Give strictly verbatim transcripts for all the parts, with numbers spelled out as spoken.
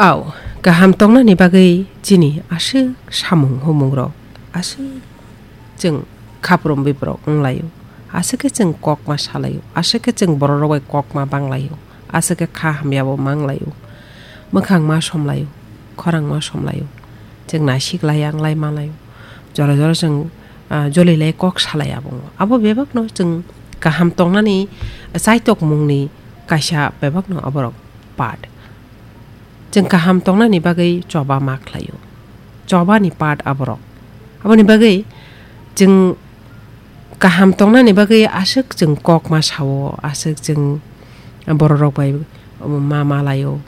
Au, kaham tongnani bagwi chini aswk samung humungrok, aswk chwng khaprum biprok wnglaio, aswk khe chwng kokma salaio, aswk khe chwng bororok bai kokma banglaio, aswk khe kha hamyabo manglaio, mwkhang ma somlaio, khorang ma somlaio, chwng naisik lai ang lai malaio, jora jora chwng, ah, joli lai kok salai abo. Abo bebakno chwng kaham tongnani chaitokmungni kaisa bebakno aborok part. Chwng kaham tongnani bagwi choba ma khlaio. Chobani part aborok. Aboni bagwi chwng kaham tongnani bagwi aswk chwng kok ma sao, aswk chwng bororok bai ma malaio,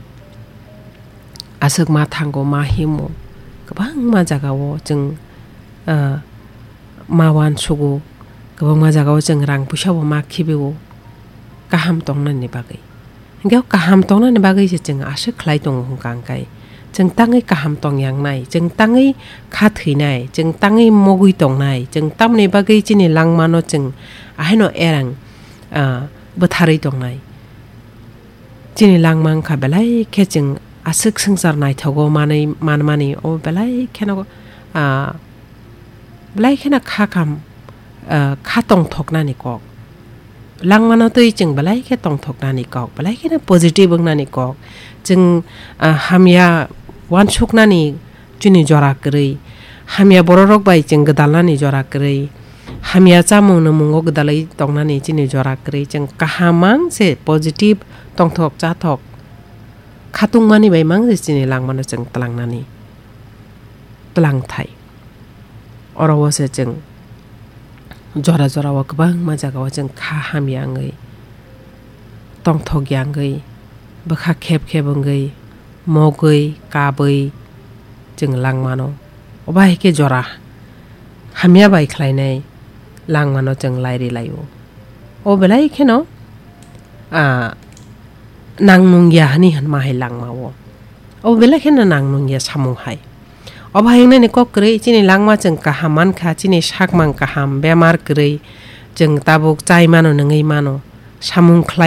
aswk ma thango, ma himo, kwbangma jagao chwng, ah, ma uansugo, kwbangma jagao chwng rang puisa bo ma khibio, kaham tongnani bagwi. Hingke o kaham tongnani bagwi se chwng aswk khlai tongo hwnkha hwnkhe, chwng tangwi kaham tongyangnai, chwng tangwi kha thwinai, chwng tangwi mogwi tongnai, chwng tamoni bagwi chini langmano chwng ahaino erang, ah, bwtharwi tongnai. Chini langma wngkha belai khe chwng aswk swngchar naithogo manwi, manmani o belai kheno, ah, belai kheno kha kam, ah, kha tongthoknani kok. Langmano twi chwng belai khe tongthoknani kok, belai kheno positive wngnani kok. Chwng, ah, hamya uansuknani chini jora kwrwi, hamya bororok bai chwng gwdalnani jora kwrwi, hamya chamung nungmungo gwdalwi tongnani chini jora kwrwi, chwng kaham mang se positive tongthok chathok khatungmani bai mang se chini langmano chwng tlangnani tlangthai. Oro o se chwng jora jora o kwbangma jaga o chwng kha hamya wngwi, tongthok ya wngwi, bwkha khep khep wngwi, mogwi, kabwi chwng langmano. Obo hai khe jora hamya bai khlainai langmano chwng lairi laio. O belai kheno, ah, nang nung ya hani hwnma hai langmao. O belai kheno nang nung ya samung hai. Obo hai wngnani kok kwrwi chini langma chwng kaham mankha, chini sakmang kaham, bemar kwrwi chwng tabuk chai mano, nungwi mano, samung khlai